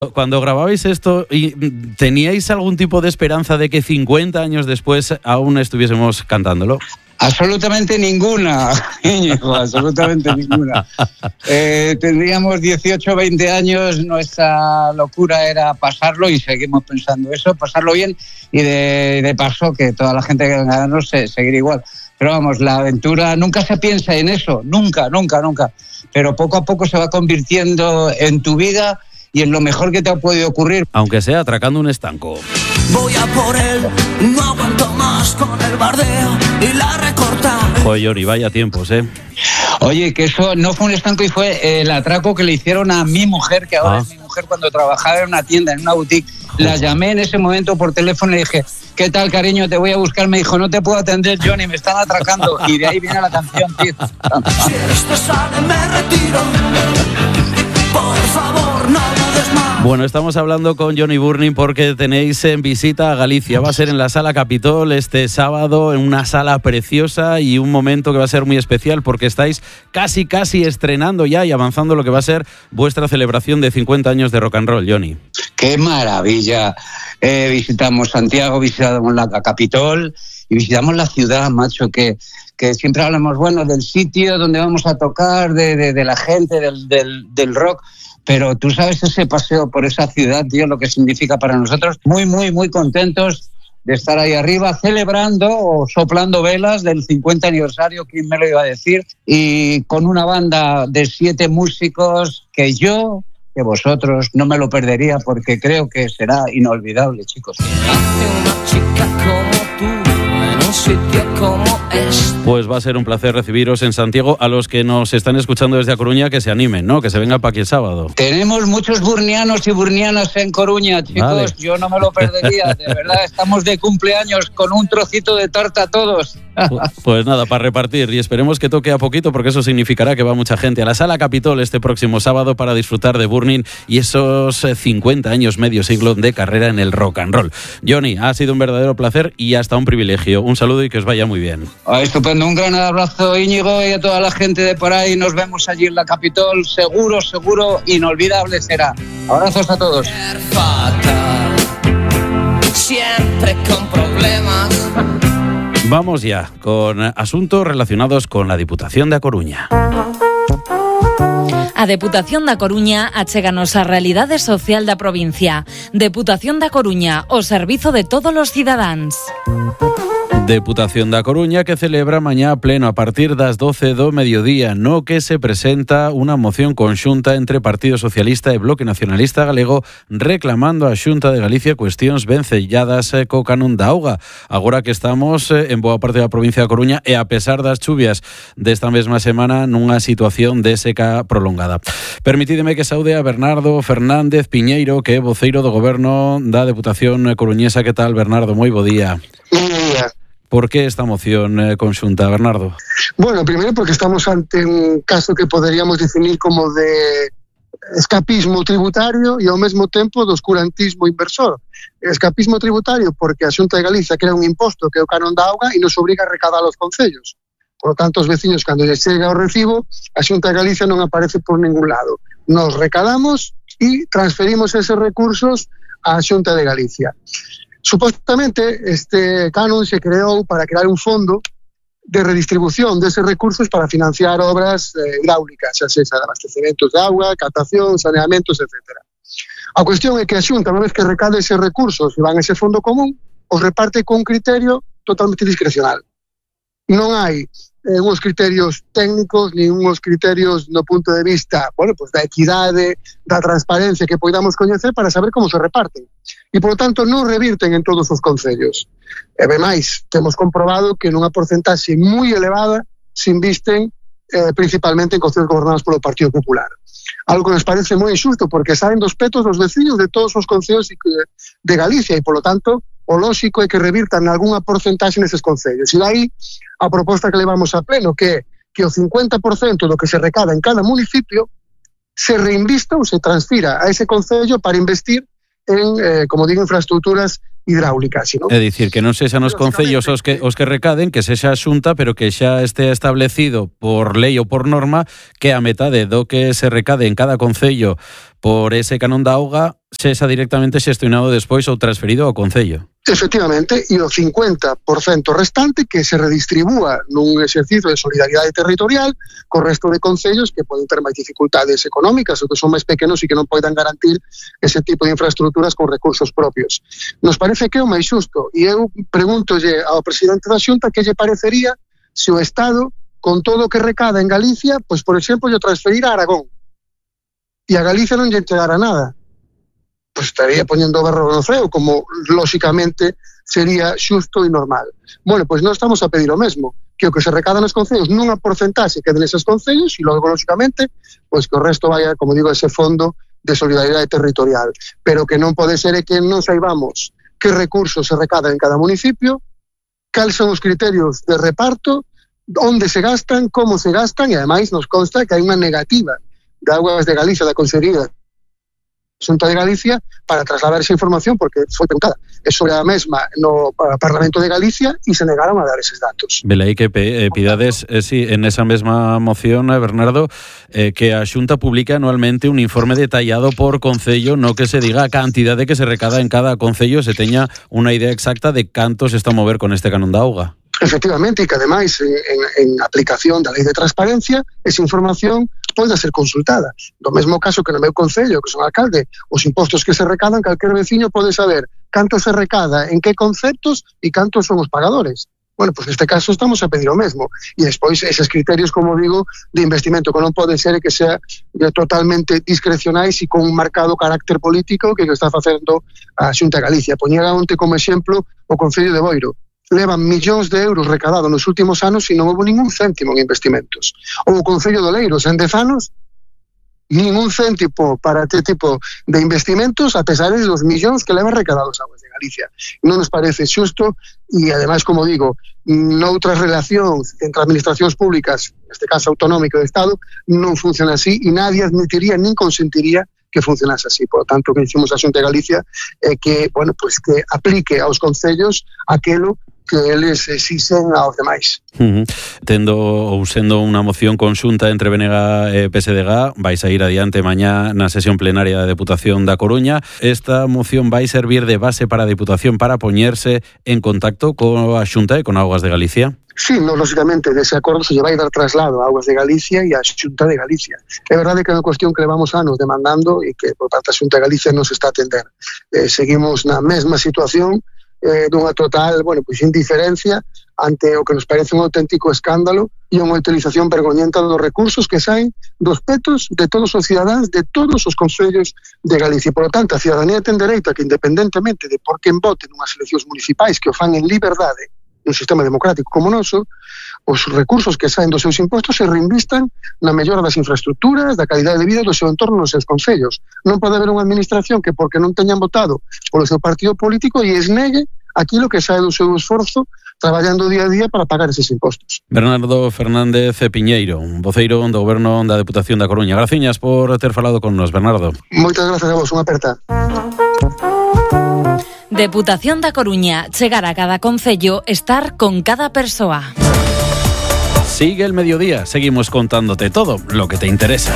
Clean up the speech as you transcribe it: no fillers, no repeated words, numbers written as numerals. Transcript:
Cuando grababais esto, ¿teníais algún tipo de esperanza de que 50 años después aún estuviésemos cantándolo? Absolutamente ninguna, Íñigo, absolutamente ninguna. Tendríamos 18 o 20 años, nuestra locura era pasarlo y seguimos pensando eso, pasarlo bien y de paso que toda la gente que venga a ganarnos seguir igual. Pero vamos, la aventura nunca se piensa en eso, nunca. Pero poco a poco se va convirtiendo en tu vida y en lo mejor que te ha podido ocurrir. Aunque sea atracando un estanco. Voy a por él, no aguanto más con el bardeo y la recorta. Joder, Johnny, vaya tiempos, ¿eh? Oye, que eso no fue un estanco y fue el atraco que le hicieron a mi mujer, que ahora es mi mujer, cuando trabajaba en una tienda, en una boutique. La llamé en ese momento por teléfono y le dije, ¿qué tal, cariño? Te voy a buscar. Me dijo, no te puedo atender, Johnny, me están atracando. Y de ahí viene la canción, tío. Si esto sale, me retiro. Por favor, no dudes más. Bueno, estamos hablando con Johnny Burning porque tenéis en visita a Galicia. Va a ser en la Sala Capitol este sábado, en una sala preciosa y un momento que va a ser muy especial porque estáis casi estrenando ya y avanzando lo que va a ser vuestra celebración de 50 años de rock and roll, Johnny. ¡Qué maravilla! Visitamos Santiago, visitamos la Capitol y visitamos la ciudad, macho, que siempre hablamos, bueno, del sitio donde vamos a tocar, de la gente, del rock, pero tú sabes ese paseo por esa ciudad, tío, lo que significa para nosotros. Muy contentos de estar ahí arriba celebrando o soplando velas del 50 aniversario, ¿quién me lo iba a decir? Y con una banda de 7 músicos que vosotros no me lo perdería porque creo que será inolvidable, chicos. Una chica como tú en un sitio como este. Pues va a ser un placer recibiros en Santiago. A los que nos están escuchando desde A Coruña, que se animen, ¿no? Que se vengan para aquí el sábado. Tenemos muchos burnianos y burnianas en Coruña, chicos. Vale. Yo no me lo perdería, de verdad. Estamos de cumpleaños con un trocito de tarta todos. Pues nada, para repartir. Y esperemos que toque a poquito, porque eso significará que va mucha gente a la Sala Capitol este próximo sábado para disfrutar de Burning y esos 50 años, medio siglo de carrera en el rock and roll. Johnny, ha sido un verdadero placer y hasta un privilegio. Un saludo y que os vaya muy bien. Estupendo. Un gran abrazo, Íñigo, y a toda la gente de por ahí. Nos vemos allí en la Capitol. Seguro, inolvidable será. Abrazos a todos. Fatal, siempre con problemas. Vamos ya con asuntos relacionados con la Diputación da Coruña. A Deputación da Coruña achéganos a realidade social da provincia. Deputación da Coruña, o servizo de todos os cidadáns. Deputación da Coruña que celebra mañá pleno a partir das 12 do mediodía, no que se presenta unha moción conxunta entre Partido Socialista e Bloque Nacionalista Galego reclamando a Xunta de Galicia cuestións vencelladas co canon da auga. Agora que estamos en boa parte da provincia da Coruña e a pesar das chuvias desta mesma semana nunha situación de seca prolongada. Permitídeme que saude a Bernardo Fernández Piñeiro, que é voceiro do Goberno da Deputación coruñesa. Que tal, Bernardo? Moi bo día. Moi bo día. ¿Por qué esta moción conxunta, Bernardo? Bueno, primero porque estamos ante un caso que poderíamos definir como de escapismo tributario e ao mesmo tempo de oscurantismo inversor. Escapismo tributario porque a Xunta de Galicia crea un imposto que é o canon da auga e nos obriga a recadar aos concellos. Por lo tanto, os veciños, cando lles chega o recibo, a Xunta de Galicia non aparece por ningún lado. Nos recadamos e transferimos eses recursos á Xunta de Galicia. Supuestamente, este canon se creou para crear un fondo de redistribución deses recursos para financiar obras hidráulicas, xa sexa de abastecementos de auga, captación, saneamentos, etc. A cuestión é que a Xunta, unha vez que recade eses recursos e van a ese fondo común, os reparte con un criterio totalmente discrecional. Non hai uns criterios técnicos ni uns criterios no punto de vista, bueno, pues da equidade, da transparencia que podamos coñecer para saber como se reparten. E, por lo tanto, non revirten en todos os concellos. E, máis, temos comprobado que nunha porcentaxe moi elevada se invisten principalmente en concellos gobernados polo Partido Popular. Algo que nos parece moi injusto, porque saen dos petos dos veciños de todos os concellos de Galicia e, por lo tanto, o lóxico é que revirtan algunha porcentaxe neses concellos. E dai a proposta que levamos a pleno, que o 50% do que se recada en cada municipio se reinvista ou se transfira a ese concello para investir en, como digo, infraestructuras hidráulicas, ¿no? É dicir, que non sexan os concellos os que recaden, que sexa a Xunta, pero que xa este establecido por lei ou por norma que a metade do que se recade en cada concello por ese canon da auga sexa directamente xestionado despois ou transferido ao Concello. Efectivamente, e o 50% restante que se redistribúa nun exercicio de solidaridade territorial co resto de concellos que poden ter máis dificultades económicas ou que son máis pequenos e que non poden garantir ese tipo de infraestructuras con recursos propios. Nos parece que é o máis xusto e eu preguntolle ao presidente da Xunta que lle parecería se o Estado, con todo o que recada en Galicia, pois, por exemplo, lle transferira a Aragón e a Galicia non lle entregara nada. Pues estaría poñendo o berro no ceo, como lóxicamente sería xusto e normal. Bueno, pois non estamos a pedir o mesmo, que o que se recada nos concellos nunha porcentaxe quede neses concellos e logo, lóxicamente, pois que o resto vaya, como digo, a ese fondo de solidaridade territorial. Pero que non pode ser que non saibamos que recursos se recadan en cada municipio, cales son os criterios de reparto, onde se gastan, como se gastan, e ademais nos consta que hai unha negativa de Augas de Galicia, da Consellería Xunta de Galicia, para trasladar esa información, porque foi preguntada sobre a mesma no Parlamento de Galicia e se negaron a dar eses datos. Velaí que pidades, sí, en esa mesma moción, Bernardo, que a Xunta publica anualmente un informe detallado por concello, no que se diga a cantidade que se recada en cada concello, se teña unha idea exacta de canto se está a mover con este canon da auga. Efectivamente, e que ademais en aplicación da lei de transparencia esa información pode ser consultada. Do mesmo caso que no meu concello, que son alcalde, os impostos que se recadan, calquer veciño pode saber canto se recada, en que conceptos e cantos son os pagadores. Bueno, pois neste caso estamos a pedir o mesmo. E despois eses criterios, como digo, de investimento que non pode ser que sea totalmente discrecionais e con un marcado carácter político que está facendo a Xunta de Galicia. Poñera onte como exemplo o Concello de Boiro. Levan millóns de euros recadados nos últimos anos e non houve ningún céntimo en investimentos. Ou o Concello de Oleiros, en 10 anos, ningún céntimo para este tipo de investimentos, a pesar de los millóns que levan recadados a Augas de Galicia. Non nos parece xusto e, ademais, como digo, noutras relacións entre administracións públicas, neste caso autonómico de Estado, non funciona así e nadie admitiría nin consentiría que funcionase así. Por lo tanto, que dicimos a Xunta de Galicia é que, bueno, pues que aplique aos concellos aquelo que eles exixen aos demais. Tendo ou sendo unha moción conxunta entre BNG e PSDG, vais a ir adiante mañá na sesión plenaria da Deputación da Coruña. Esta moción vai servir de base para a Deputación para poñerse en contacto coa Xunta e con Augas de Galicia? Sí, no, lógicamente, dese acordo se lle vai dar traslado a Augas de Galicia e a Xunta de Galicia. É verdade que é unha cuestión que levamos anos demandando e que por parte da Xunta de Galicia non se está a atender. Seguimos na mesma situación, dunha total, bueno, pois indiferencia ante o que nos parece un auténtico escándalo e unha utilización vergoñenta dos recursos que saen dos petos de todos os cidadáns de todos os concellos de Galicia. Por lo tanto, a cidadanía ten dereito a que, independentemente de por quen vote nunhas eleccións municipais que o fan en liberdade nun sistema democrático como o noso, os recursos que saen dos seus impostos se reinvistan na mellora das infraestructuras, da calidade de vida do seu entorno nos seus concellos. Non pode haber unha administración que, porque non teñan votado polo seu partido político, e esnegue aquilo que sae do seu esforzo traballando día a día para pagar eses impostos. Bernardo Fernández Piñeiro, voceiro do Goberno da Deputación da Coruña. Graciñas por ter falado con nos, Bernardo. Moitas gracias a vos, unha aperta. Deputación da Coruña, chegar a cada concello, estar con cada persoa. Sigue el mediodía, seguimos contándote todo lo que te interesa.